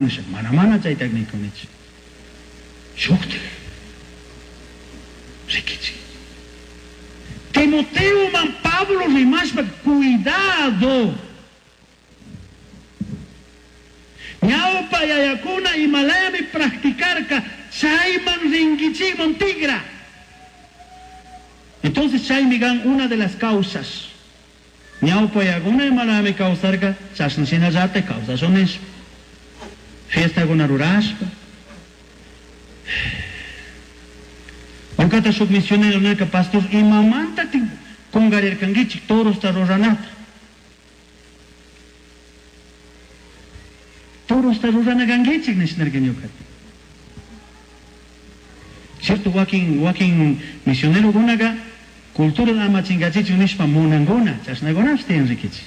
Nisha, mana mana chayta nikunichu. Shuktik rikichik. Timoteoman Pablo rimashpa cuidado. Ñawpa yayakuna imalayami practicarka chayman rinkichikman tigra. Entonces chaymi kan una de las causas. Ñawpa yayakuna imalayami kawsarka chashna shinallatak kawsashun nishpa. Fiestakuna rurashpa. Ñukata shuk misionero nirka, pastor, imamantatik kungarirkankichik torosta ruranata? Torosta rurana kankichik nish nirka ñukata. Cierto, wakin wakin misionerokunaka cultura ama chingachichun nishpa munankuna, chashnakunapish tiyan rikichik.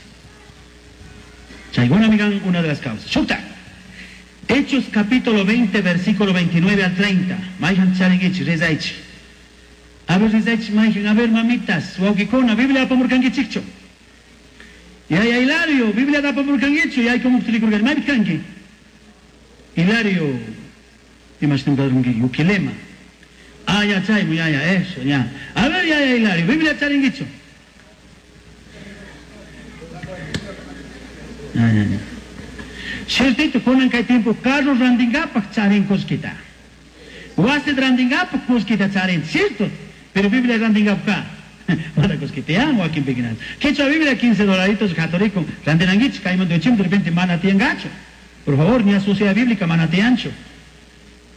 Chaykunami kan una de las causas. Shukta. Hechos capítulo 20, versículo 29 al 30. Mayhan charinkichik, rezaychik. A ver, rezaychik, mayhan, a ver, mamitas, wawkikuna, Biblia apamurkankichikchu. Yaya Hilario, Biblia apamurkankichu, yaykumukta rikurkani, maypi kanki? Hilario, imashtin padrunki, Yuquilema. Ah, ya, chaymu, ya, ya, eso, ya. A ver, yaya Hilario, Biblia charinkichu. Ya, ya, ya. Ciertito, kunan kay tiempo carro randinkapaq charin kullkita. Wasi randinkapaq kullkita charin, cierto. Pero Biblia randinkapqa mana kullkita wakin pikinan. Quechua Biblia 15 dolaritos católico randinankichik kaymanta uchim de repente mana tiyankachu. Por favor, ni a sociedad bíblica mana tiyanchu.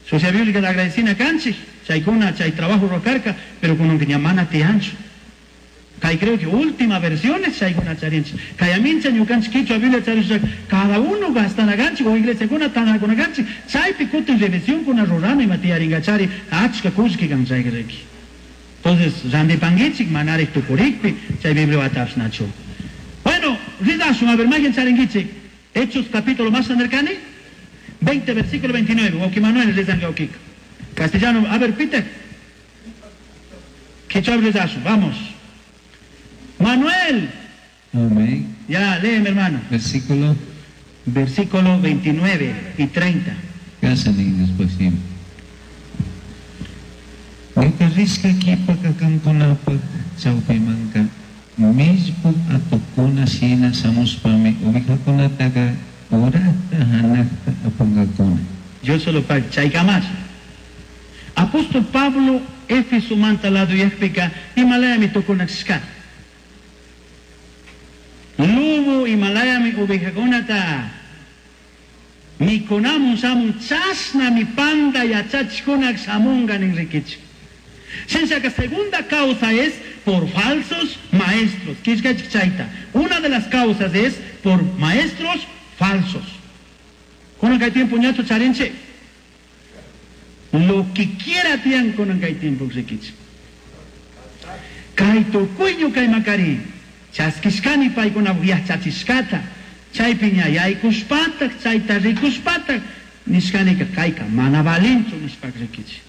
Sociedad bíblica da agradecina kanchik, chaykuna chay trabajo rocarka, pero kunanka ña mana tiyanchu. Kay creo que última versiones chaykuna charinchik. Kay amincha ñukanchik quechua Biblia charisha cada uno gastana kanchik o iglesiakuna tanakuna kanchik, chaypi kutin revisionkuna rurana ima tiyaringachari achka kullki kan chayka riki. Entonces, randipankichik manarik tukurikpi chay Biblia watapshnachu. Bueno, ridashun, a ver, mayhan charinkichik. Hechos capítulo más nerkani, 20 versículo 29. Wawki Manuel rezanga wawkika. Castellano, a ver, Peter. Quechua rezashun, vamos. Manuel. Amén. Ya, léeme, hermano. Versículo. Versículo 29 y 30. Gracias, después sí. Ñuka rishka kipaka kankunapak chawpimanka millpuk atukkuna shina shamushpami ovejakunataka urata hanakta apankakuna. Yo solo pa chaykamás. Apóstol Pablo Éfeso manta lado yajpika imalayami tukunashka. Lobo imalayami ovejakunata mikunamun shamun chashnami panda yachachikunak shamunga nin rikichik. Shinshaka segunda causa es por falsos maestros. Kishkachik chayta. Una de las causas es por maestros falsos. Kunan kay tiempo ñachu charinchik. Lo que quiera tiyan kunan kay tiempo rikichik. Kay tukuyñu kay makari. Chaskishkani paykuna yachachishkata. Chaypi ña yaykushpatak, chayta rikushpatak, nishkanika kayka mana valinchu nishpak rikichik.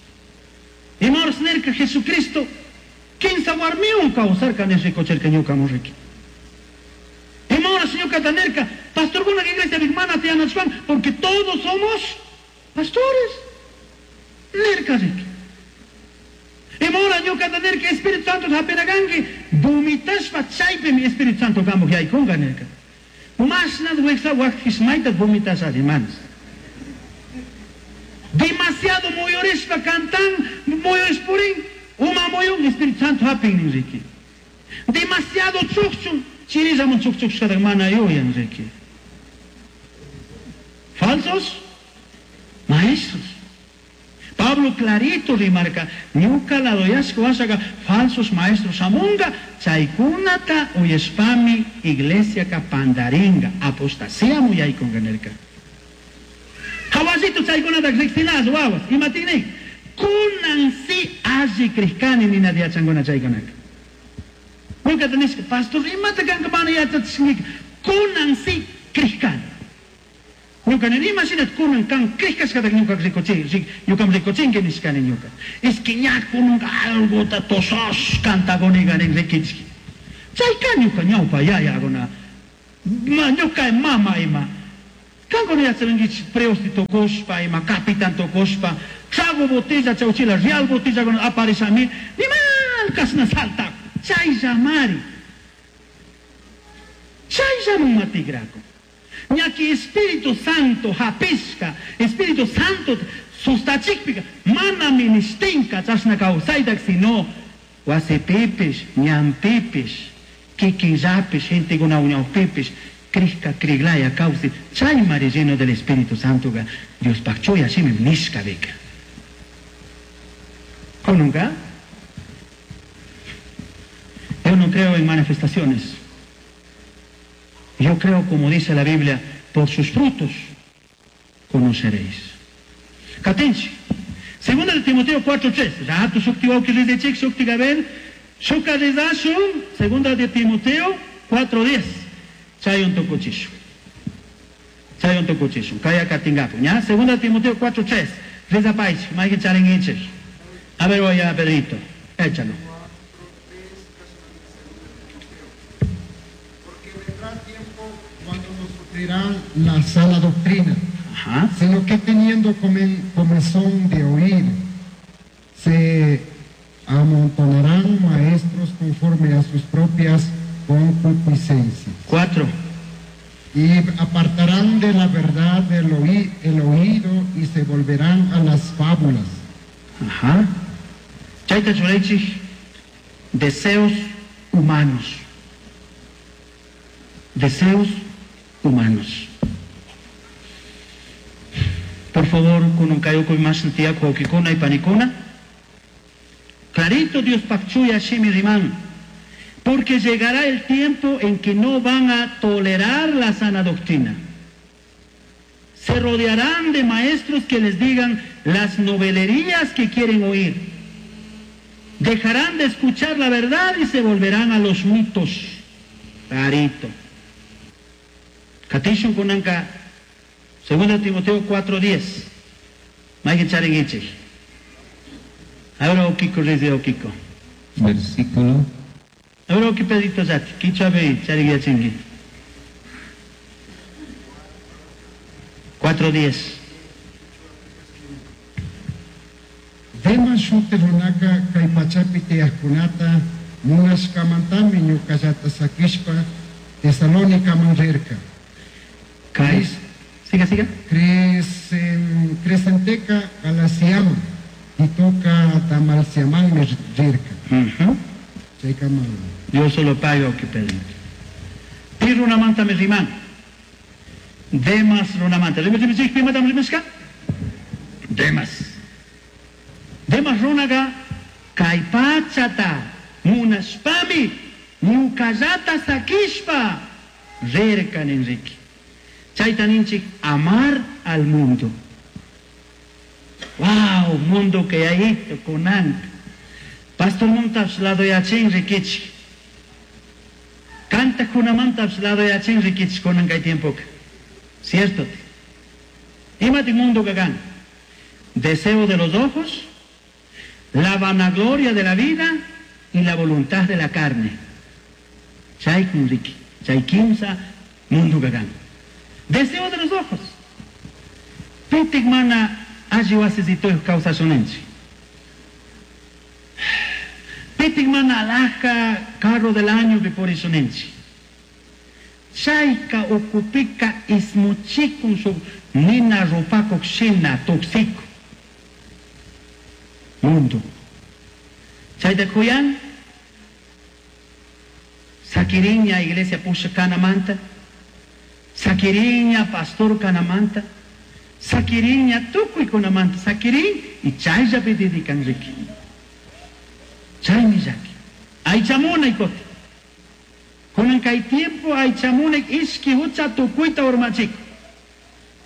Ima horas nirka Jesucristo kinsa warmiwan kawsarka nish rikuchirka ñukamun riki. Ima horas ñukata nirka pastorkuna iglesia mana tiyanachwan porque todos somos pastores. Nirka riki. Ima hora ñukata nirka Espíritu Santo hapinakanki vomitashpa chaypimi Espíritu Santo kamuk yaykunka nirka. Mashnat wiksa waqtishmayta vomitasha hermanos. Demasiado muyurishpa cantan, muyurishpurin, uma muyun, Espíritu Santo hapin riki. Demasiado chukchun, chirillamun chukchukshkatak mana yuyan riki. Falsos maestros. Pablo clarito rimarca, ñuka ladoyashka washaga falsos maestros shamunga, chaykunata uyashpami iglesia ka pandaringa, apostasía muyaykunga nirka. Hawasito chaykunata riqsinas wawas, imatini? Kunan si alli krishkani nina yachanguna chaykunaka. Ñukata nishka, pastor, imata kanka mana yachachinki? Kunan si krishkani. Ñuka nini imashinat kunan kan krishkashkata ñuka rikuchin, ñukam rikuchinki nishkani ñuka. Es que ña kunanka algota tosos cantagoniga nin rikichki. Chayka ñuka ñawpa yayaguna, ma, ñuka mama ima. Kankuna yacharinkichik prioste tukushpa, ima capitan tukushpa, trago botella chawchila real botellakuna aparishami, nimal kashna saltakun. Chayllamari. Chayllaman matikraku. Ñaki Espíritu Santo hapishka, Espíritu Santo sustachikpika, mana ministinka chashna kawsaytak, sino wasipipish, ñanpipish, kikinllapish, gentekuna ñawpipish, crishka criglaya kawsi, chaymari lleno del Espíritu Santoka Diospaj chuya shimi nishka bika. ¿Nunca? Yo no creo en manifestaciones. Yo creo, como dice la Biblia, por sus frutos conoceréis. Katinchi. Segunda de Timoteo 4.3. Rato shukti wawki rizechik shukti gabel. Shuka rizashun. Segunda de Timoteo 4.10. Chayon tukuchishu. Chayon tukuchishu. Kaya katingapu. ¿Ya? Segunda de Timoteo 4.3. Reza paich. Maikin charinginchik. A ver, voy a Pedrito. Échalo. Porque vendrá tiempo cuando no sufrirán la sana doctrina, Ajá. sino que teniendo comezón de oír, se amontonarán maestros conforme a sus propias concupiscencias. 4. Y apartarán de la verdad el oído y se volverán a las fábulas. Ajá. Chayta churaychik, deseos humanos. Deseos humanos. Por favor, kunan kayukuy más tiyaku wawkikuna y panikuna. Clarito Dios pakchuya shimi riman. Porque llegará el tiempo en que no van a tolerar la sana doctrina. Se rodearán de maestros que les digan las novelerías que quieren oír. Dejarán de escuchar la verdad y se volverán a los mitos. Clarito. Katishun kunanka, 2 Timoteo 4:10. Mayken charingichik. Ahora okiko rezi okiko. Versículo. Ahora oki pedito zati. Kichwa bei charingiachingi. 4:10. Demas shuti runaka kay pachapi tiyaqkunata munashkamantami ñuqallata sakishpa Tesalónicaman rirka. Kay. Siga, siga. Crescenteca Galaciaman Titoca Dalmaciamanmi rirka. Chaykaman. Dios solo paga oki pedito. Pi runamanta mi riman. Demas runamanta. Rime, rime, rime, rime, rime, rime, Demas. Demas runaga kay pachata munashpami ñuqallata sakishpa rirkan Enrique. Chayta ninchik amar al mundo. Wow, mundo que hay esto kunan. Pastor montas lado yachin rikichik. Canta kunamantas lado yachin rikichik kunan kay tiempo. Cierto. Imati mundo kagan. Deseo de los ojos, la vanagloria de la vida y la voluntad de la carne. Chay kunriki, chay kimsa mundo kagan. Deseo de los ojos. Pitik mana alli wasisitoy kawsashunanchik. Pitik mana alhaja carro del año purishunanchik. Chayka ukupika ismuchikun shuk nina rupakuk shina tuksiko. Mundo. Chayta kuyan sakiriña iglesia pusha kanamanta, sakiriña pastor kanamanta, sakiriña tukuy kunamanta, sakirin y chayllapi dedican riki. Chaymi llaki. Aychamunay kuti. Kunan kay tiempo aychamunay ishki hucha tukuyta urmachikun.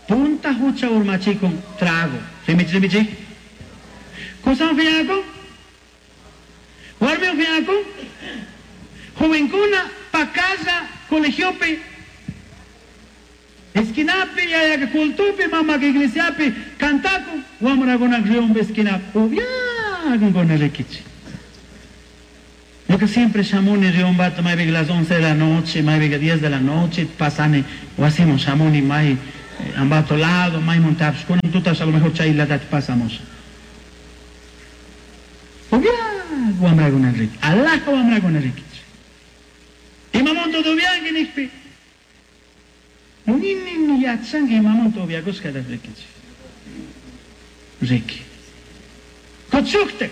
Punta hucha urmachikun trago. Rimichi, rimichi. Kusan fiakun? Warmi fiakun? Jovencuna pakalla colegiopi esquinapi yayaka cultupi mamaka iglesiapi kantakun wamrakuna riumpi esquinapi upiakun rikichi. Yo que siempre shamuni riumbata maypi las 11 de la noche, maypi 10 de la noche, pasani wasiman shamuni may Ambato lado, maymantapish, kunan tutash a lo mejor chaylatati pasamos. Upiaj wamrakuna riki, alaja wamrakuna rikichik. Imamunta upianki nijpi, nini yachanki imamunta upiakushkata rikichik. Riki. Kuchuktik,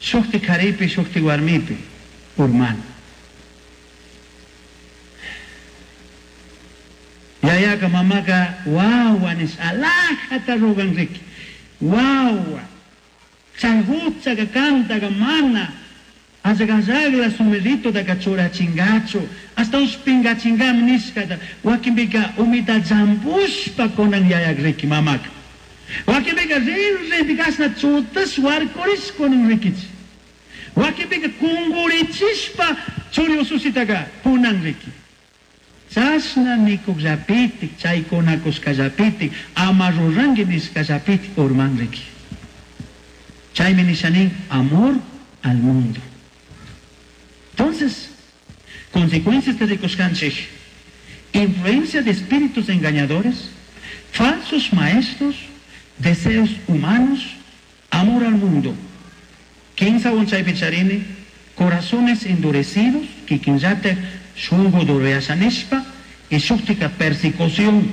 shukti karipi, shukti warmipi, urmana. Yayaka mamaka wawa nish alajata rogan riki. Wawa. Chay huchaka kantaka mana allaqallaqla sumirritutaka churachinkachu hasta ushpinkachinkami nishkata wakinpika umita llampushpa kunan yayak riki mamaka. Wakinpika rin rinpi kashna chutash warkurish kunan rikichik. Wakinpika kunkurichishpa churi usushitaka punan riki. Chashna nikuqllapitik, chaykunakushkallapitik, ama ruranki nishkallapitik urman riki. Chaymi nishanin amor al mundo. Entonces, consecuencias de rikushkanchik, influencia de espíritus engañadores, falsos maestros, deseos humanos, amor al mundo. Kinsa chaypi charini, corazones endurecidos, kikinllatik shungu dureyashanishpa, y shuktika persecución.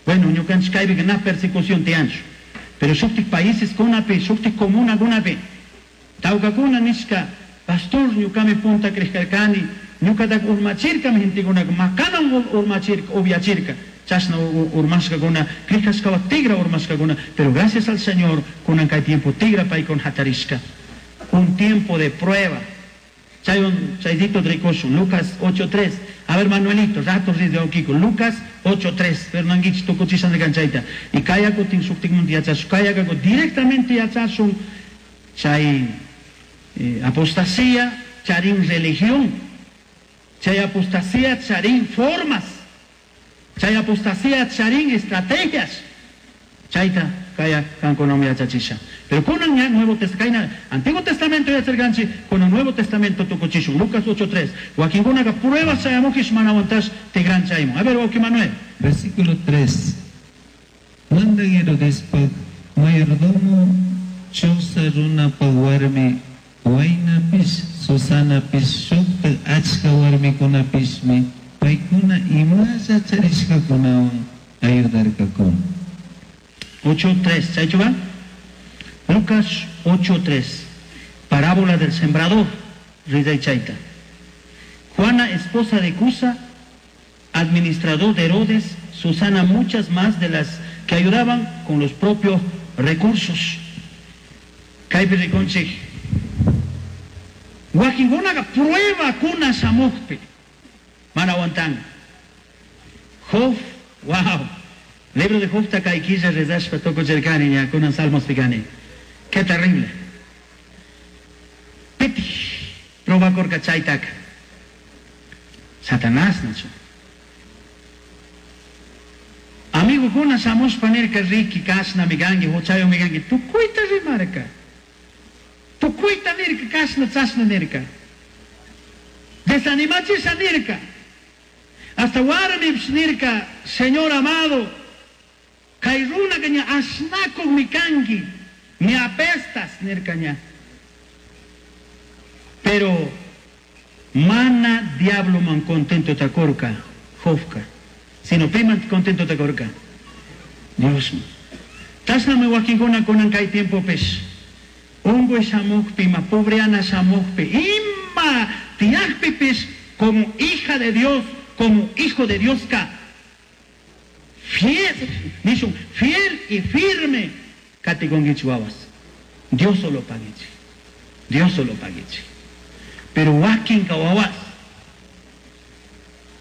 Bueno, ñukanchik kaypika na persecución tiyanchu. Pero shuktik países kunapi, shuktik comuna kunapi, tawkakuna nishka, pastor ñukami punta crishkarkani, ñukataka urmachirkami gentekunaka, makanan urmachirka, upiachirka, chashna urmashkakuna, crishkashkawa tigra urmashkakuna, pero gracias al Señor, kunan kay tiempo tigra paykuna hatarishka. Un tiempo de prueba. Chay chaydito rikushun, Lucas 8.3. A ver, Manuelito, rato de Okiko, Lucas 8.3. Fernanguich tukuchishan chayta. Y kayakutin shuktikmunta yachashun, kayakaku directamente yachashun, chay apostasía, charin religión, chay apostasía, charin formas, chay apostasía, charin estrategias. Chayta, kaya kankunami yachachisha. Pero kunan ña Nuevo Testamento, Antiguo Testamento yacharkanchik, kunan Nuevo Testamento tukuchishun, Lucas 8.3. Wakinkunaka pruebas chayamujish mana aguantash tigran chaymun. A ver, wawki Manuel. Versículo 3. Mandan Herodespa mayordomo Chuza runapa warmi Waynapish, Susanapish, shuktak achka warmikunapishmi paykuna imalla charishkakunawan ayudarkakuna. 8.3, ¿chaychu va? Lucas 8.3, parábola del sembrador, Rida y Chaita. Juana, esposa de Cusa, administrador de Herodes, Susana, muchas más de las que ayudaban con los propios recursos. Kaypi rikunchik. Wakinkunaqa prueba kuna shamukpi mana aguantan. Job, wow. Libro de Job kay killa rezashpa tukuchirkani ña kunan Salmos pikani. Qué terrible. Piti probakurka chaytaka. Satanás nachu. Amigokuna shamushpa nirka riki kashnami kanki, huchayumi kanki, tukuyta rimarka. Tukuyta nirka, kashna chashna nirka. Desanimachisha nirka. Hasta warmipish nirka, Señor amado, kay runaka ña ashnakukmi kanki, me apestas nirka ña. Pero mana diablo man contento takurka, Jobka, sino piman contento takurka. Dios. Chashnami wakinkuna kunan kay tiempopish. Unkuy shamukpi, ima pobreana shamukpi, ima tiyakpipish como hija de Dios, como hijo de Dios ka. Fiel, nishun, fiel y firme katikunkichik wawas. Dios solo paguichik. Dios solo paguichik. Pero wakinka wawas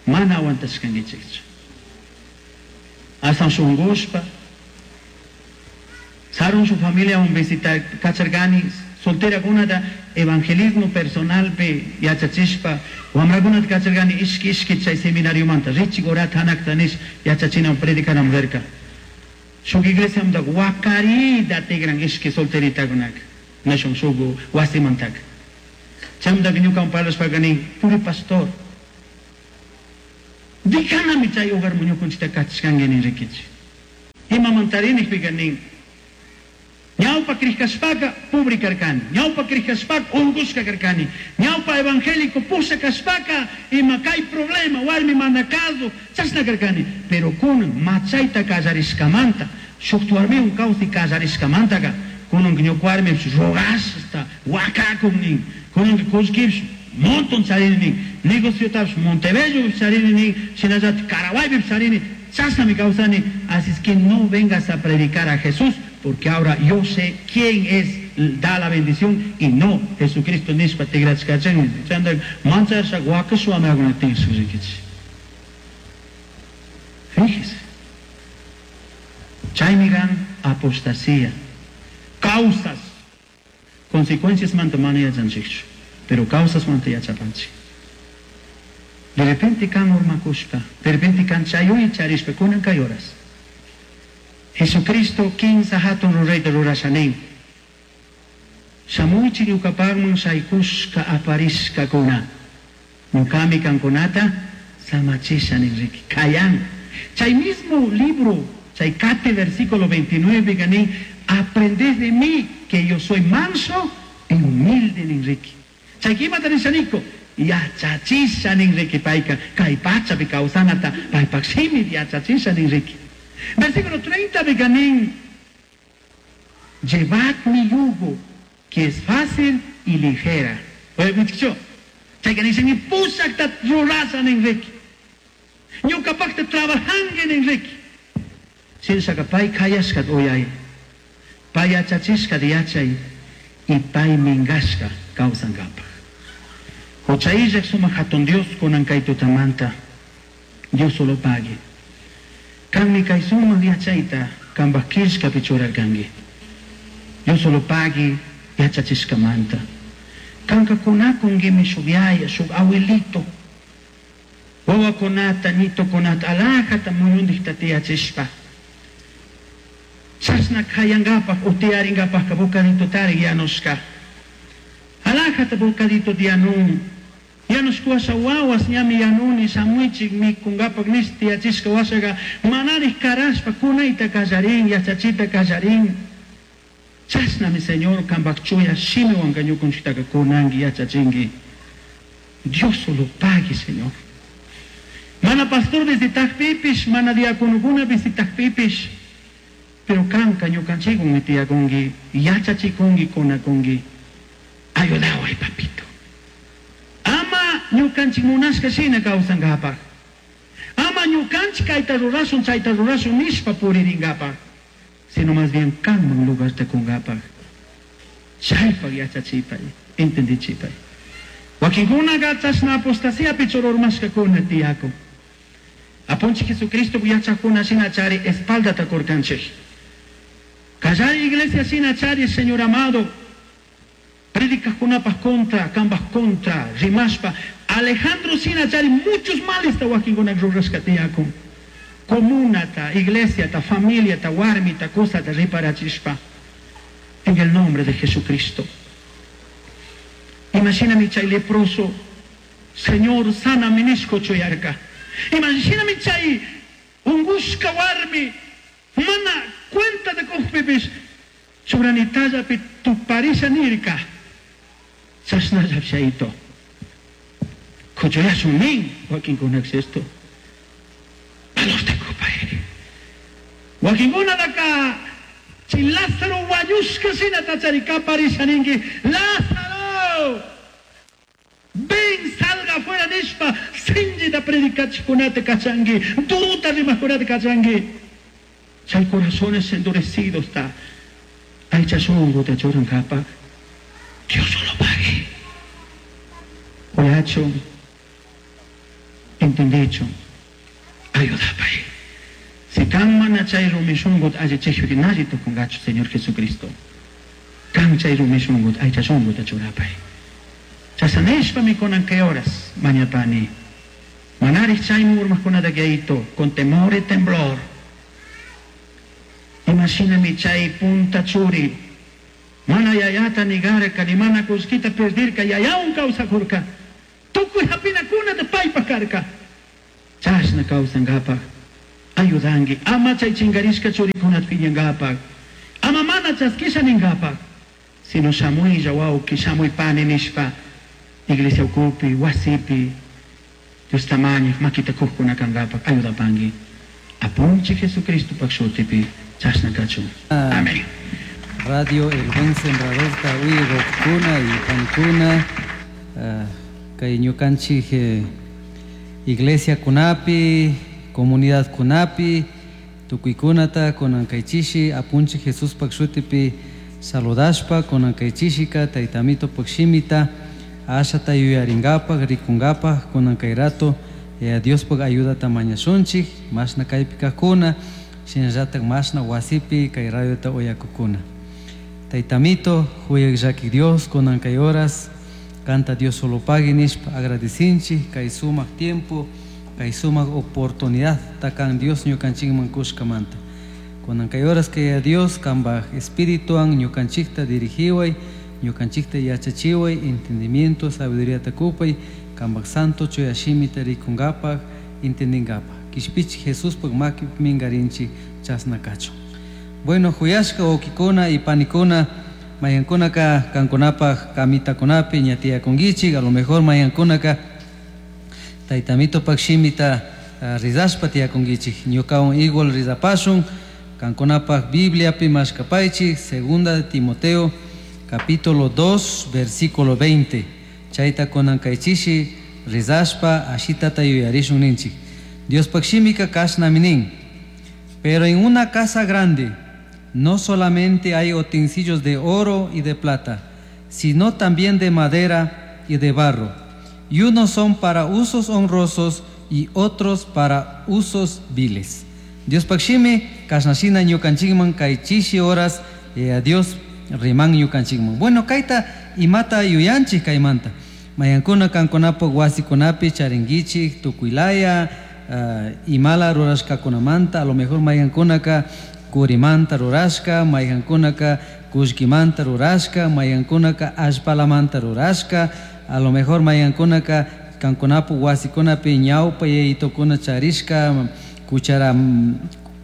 mana aguantashkankichikchu. Hasta shunkushpa, Sarun su familia un visitar kacharkani, soltera kunata evangelismo personalpi yachachishpa, wamrakunata kacharkani ishki ishki chay seminariomanta, richik orata hanakta nish yachachinam predicanam rirka. Shuk iglesiamanta wakarita tigran ishki solteritakunaka, nishun shuk wasimantaka. Chaymantaka ñukawan parlashpaka nin, puri pastor. Dikanami chay hogar ñukunchikta kachishkanki nin rikichik. Imamantari nijpika nin. Ñawpa krishkashpaka pobre karkani, ñawpa krishkashpaka unkushka karkani, ñawpa evangélico pusha kashpaka ima kay problema warmi mana caso chashna karkani, pero kunan machayta kallarishkamanta shuk warmiwan kawsay kallarishkamantaka kunan ñuka warmipish rogashta wakakun nin, kunanka kullkipish montón charini nin, negociotapish Montebello charini nin, shinallatik Caraguaypish charini, chashnami kawsani, así es que no vengas a predicar a Jesús, porque ahora yo sé quién es, da la bendición y no Jesucristo nishpa tigrachkachan. Chanda manchasha wakashwami rikichik. Fíjese. Chaymi kan apostasía. Causas. Consecuencias manta mana yachanchikchu, pero causas manta yachapanchik. De repente kan urmakushpa, de repente kan chayuy charishpa, kunan kay horas. Jesucristo kinsa hatun rurayta rurashanin. Shamuychik ñukapanman shaykushka aparishkakuna. Ñukami kankunata samachisha nin riki. Kayan. Chay mismo libro, chay kate versículo 29 ganin, aprended de mí que yo soy manso y humilde nin riki. Chay kimata nishaniko, yachachisha nin riki payka, kay pachapi kawsanata, paypak shimi yachachisha nin riki. Versículo 30 ganin, llevad mi yugo, que es fácil y ligera. Oye, muchacho, chay que dicen, pusakta rurasa nin riki. Ñukapakta trabajangi nin riki. Shinshaka pay kayashka uyay, pay yachachishka yachay, y pay mingashka kawsankapaj. Huchayllak sumak hatun Dios kunan kay tutamanta, Dios solo pague. Kanmi kay sumak yachayta kanpak killkapi churarkanki. Dios solo pague yachachishkamanta. Kanka kunakunkimi shuk yaya, shuk abuelito. Wawakunata, nitokunata, alajata muyundikta tiyachishpa. Chashna kayankapaj o tiyarinkapajka bocadito tarik yanushka. Alajata bocadito tiyanun. Yanushka wawas ñami yanuni shamuichik mikunkapak nish tiyachishka washaqa manarik karashpa kunayta kallarin, yachachita kallarin. Chashnami Señor kanpak chuya shimiwanka ñukunchiktaka kunanki yachachinki. Dios solo pague, Señor. Mana pastor visitakpipish, mana diaconokuna visitakpipish, pero kanka ñukanchikwan tiyakunki, yachachikunki, kunakunki. Ayudaway, papito. Ama ñukanchik munashka shina kawsankapaj. Ama ñukanchik kayta rurashun, chayta rurashun nishpa puririnkapaj. Sino más bien kanman lugarta kunkapaj. Chaypak yachachipay, entendichipay. Wakinkunaka chashna apostasiapi chururmashkakuna tiyakun. Apunchik Jesucristo yachakuna shina chari espaldata kurkanchik. Kallari iglesia shina chari, Señor amado. Predicajkunapaj contra, kanpaj contra, rimashpa. Alejandro shina chari muchos males ta wakinkuna rurashka tiyakun. Comunata, iglesiata, familiata, warmita, cosata riparachishpa. En el nombre de Jesucristo. Imagíname chay leproso, Señor, sana nishko chuyarka. Imagíname chay ungushka warmi, mana cuenta de kujpipish, churanittallapi tuparisha nirka. Chashnalla chayto. Kuchuyashun nin, wakinkunak esto. Valor te kupairi. Wakinkunataka, chay Lázaro wañushka shina tachari kaparisha ninki, Lázaro! Ven, salga afuera nishpa, sinchita predicachikunata kachanki, duta rimakunata kachanki. Chay corazones endurecidos ta, aycha shunguta churankapaj. Dios solo pague. Uyachun, entendichun, ayudapay. Si kan mana chay rumi shungut allichikpi nalli tukunkachu, Señor Jesucristo. Kan chay rumi shungut aycha shunguta churapay. Chashanishpami kunan kay horas mañapani. Manarij chayman urmajkunata yayito, con temor y temblor. Imagíname chay punta churi. Mana yayata nigarka, ni mana kullkita perdirka, yayawan kawsakurka. Tukuy hapinakunata paypak karka. Chashna Chashna kawsankapaj ayudanki ama chay chinkarishka churikunata piñankapaj ama mana chaskisha ninkapaj sino shamuylla wawki shamuy pani nishpa iglesia ukupi wasipi Diosta mañaj makita kujkuna kankapaj ayudapanki Apunchik Jesucristopak shutipi chashna kachun. Amén. Radio El Buen Sembrador ta uyakuna y panikuna kay ñukanchik iglesia kunapi, comunidad kunapi, tukuykunata kunan kaychishi apunchik Jesuspak shutipi saludashpa kunan kaychishika taytamitopak shimita ashata yuyarinkapak rikunkapak kunan kay rato Diospak ayudata mañashunchik mashna kaypi kajkuna shinallatak mashna wasipi kay radiota uyakukuna. Taytamito, huyak llaki Dios kunan kay horas canta Dios solo pagui nishpa agradecinchik kay sumak tiempo kay sumak oportunidad takan Dios ñukanchikman kushkamanta. Kunan kay horas kay Dios kanpaj espirituan ñukanchikta dirigiway ñukanchikta yachachiway entendimiento sabiduría takupay kanpaj santo chuya shimita rikunkapak entendinkapak kishpichik Jesuspaj makipi minkarinchik chasna kachun. Bueno, huyashka wawkikuna y panikuna mayankunaka kankunapaj kamitakunapi ña tiyakunkichik a lo mejor mayankunaka taytamitopak shimita rizashpa tiyakunkichik ñukawan igual rizapashun kankunapaj Bibliapi mashkapaychik segunda de Timoteo capítulo 2 versículo 20 chayta kunan kaychishi rizashpa ashitata yuyarishun ninchik. Diospaj shimika kashnami nin: pero en una casa grande no solamente hay utensilios de oro y de plata, sino también de madera y de barro, y unos son para usos honrosos y otros para usos viles. Diospaj shimi kashnashina ñukanchikman kay chishi horas Dios riman ñukanchikman. Bueno, kayta imata yuyanchik kaymanta. Mayankuna kankunapaj wasikunapi charinkichik tukuylaya imala rurashkakunamanta, a lo mejor mayankunaka kurimanta rurashka, mayankunaka kullkimanta rurashka, mayankunaka allpalamanta rurashka, a lo mejor mayankunaka kankunapu wasikunapi ñawpa yayitokuna charishka cuchara,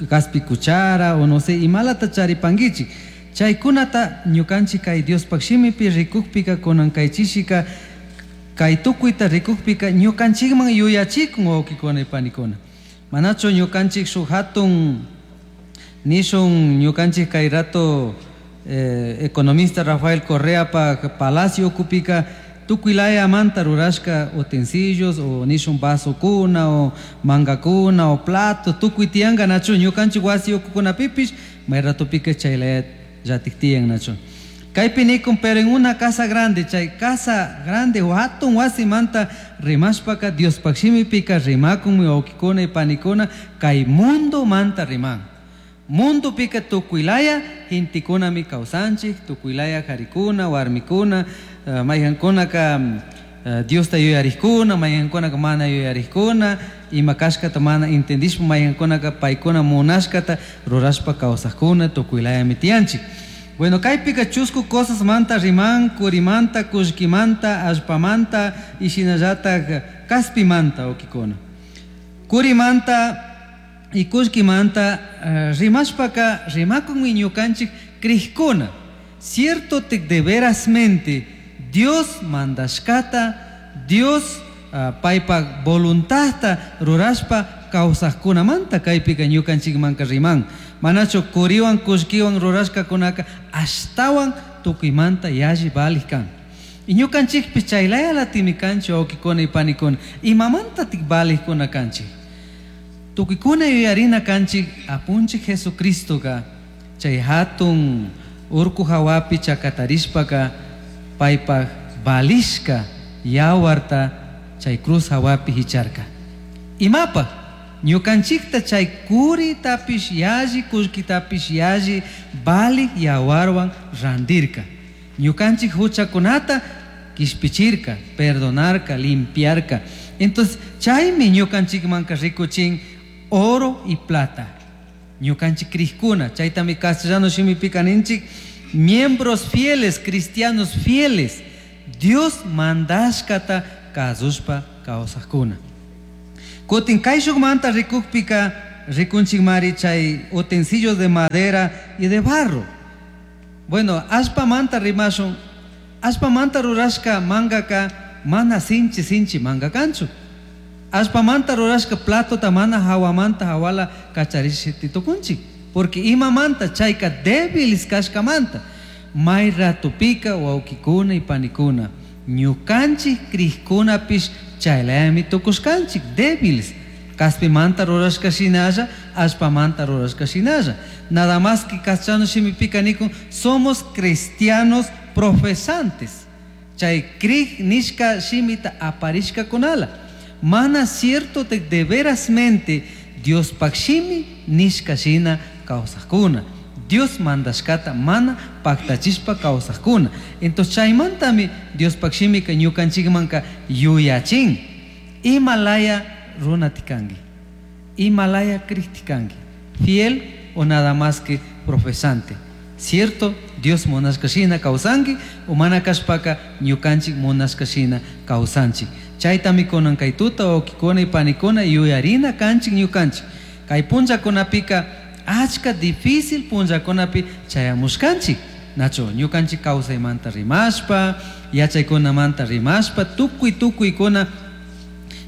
kaspi cuchara o no sé, imalata charipankichik. Chaykunata ñukanchik kay Diospaj shimipi rikukpika kunan kaychishika kay tukuyta rikukpika ñukanchikman yuyachikun wawkikuna y panikuna. Manachu ñukanchik shuk hatun nishun ñukanchik kay rato economista Rafael Correa pa palacio ukupika tukuy rurashka utensilios o nishun vasokuna o mangakuna o plato tukuy tiyanka nachu ñukanchik wasi ukukunapipish may ratopika chaylaya llatik tiyan nachu. Kaypi nikun pero en una casa grande, chay casa grande o hatun wasimanta rimashpaka Diospaj shimipika rimakun wawkikuna y panikuna kay mundo manta riman. Mundo pika tukuylaya gentekunami kawsanchik, tukuylaya karikuna, warmikuna, mayhankunaka Diosta yuyarikkuna, mayhankunaka mana yuyarikkuna, ima kashkata mana entendishpa mayhankunaka paykuna munashkata rurashpa kawsakuna tukuylayami tiyanchik. Bueno, kaypika chusku cosas manta riman, kurimanta, kullkimanta, allpamanta y shinallatak kaspimanta wawkikuna. Kurimanta y kullkimanta rimashpaka rimakunmi ñukanchik krikuna. Cierto te de verasmente Dios mandashkata, Dios paypa voluntadta rurashpa kawsaqkunamanta kaypika ñukanchikmanka riman. Manachu kuriwan kullkiwan rurashkakunaka ashtawan tukuymanta yalli valik kan. Y ñukanchikpish chaylayalatimi kanchik wawkikuna y panikuna. Imamantatik valikuna kanchik? Tukuykuna yuyarina kanchik apunchik Jesucristoka chay hatun urku hawapi chakatarishpaka paypaj valishka yawarta chay cruz hawapi hicharka. Imapaj ñukanchikta chay kuritapish yalli kullkitapish yalli valik yawarwan randirka. Ñukanchik huchakunata kishpichirka, perdonarka, limpiarka. Entonces chaymi ñukanchikmanka rikuchin oro y plata. Ñukanchik krikuna, chaytami castellano shimipika ninchik, miembros fieles, cristianos fieles, Dios mandashkata kasushpa kawsakuna. Kutin kayshukmanta rikukpika rikunchikmari chay utensilios de madera y de barro. Bueno, allpamanta rimashun, allpamanta rurashka mangaka mana sinchi sinchi manga kanchu. Allpamanta rurashka platota mana hawamanta hawala kacharish tukunchik. Porque imamanta chayka débiles kashkamanta. May ratupika wawkikuna y panikuna ñukanchik krikkunapish chaylayami tukushkanchik débiles. Kaspimanta rurashka shinalla, allpamanta rurashka shinalla. Nada más que castellano shimipika nikun, somos cristianos profesantes. Chay krik nishka shimita aparishka kunala. Mana cierto de verasmente Dios shimi nishka shina kawsakuna. Dios mandashkata mana paktachishpa kawsakuna. Entonces chaymantami Dios shimika ñukanchikmanka yuyachin. Imalaya runatikanki, imalaya kriktikanki, fiel o nada más que profesante. Cierto, Dios munashka shina kawsanki o mana kashpaka ñukanchik munashka shina kawsanchik. Chaytami kunan kay tuta wawkikuna y panikuna yuyarina kanchik ñukanchik. Kay punllakunapika achka difícil punllakunapi chayamushkanchik. Nacho, ñukanchik kawsaymanta rimashpa, yachaykunamanta rimashpa, tukuy tukuykuna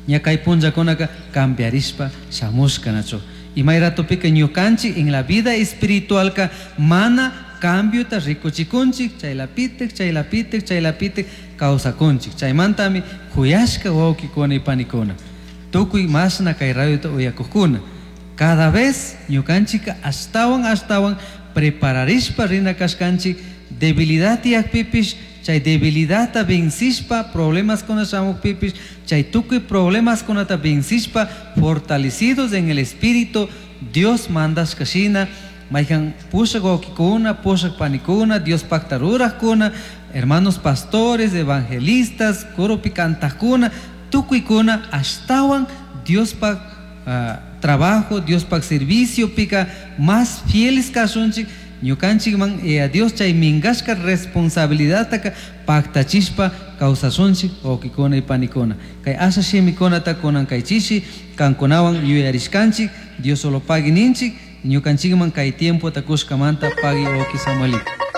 ña kay punllakunaka cambiarishpa shamushka, nacho. Y may ratupika ñukanchik en la vida espiritualka mana cambiota rikuchikunchik, chaylapitik, chaylapitik, chaylapitik kawsakunchik. Chaymantami kuyashka wawkikuna y panikuna. Tukuy mashna kay radiota uyakukuna. Cada vez ñukanchika ashtawan ashtawan prepararishpa rina kashkanchik debilidad tiyakpipish, chay debilidadta vencishpa problemas kuna shamukpipish, chay tukuy problemas kunata vencishpa fortalecidos en el espíritu Dios mandashka shina, mayhan pushak wawkikuna, pushak panikuna, Dios pakta rurakkuna, hermanos pastores, evangelistas, coropi kantakkuna, tukuykuna ashtawan Dios pak trabajo, Dios pak servicio pika más fieles kashunchik, ñukanchikman a Dios chay minkashka responsabilidadtaka paktachishpa kawsashunchik wawkikuna y panikuna. Kay asha shimikunata kunan kay chishi kankunawan yuyarishkanchik, Dios solo pagui ninchik, ñukanchikman kay tiempota kushkamanta pagui wawki Samuelito.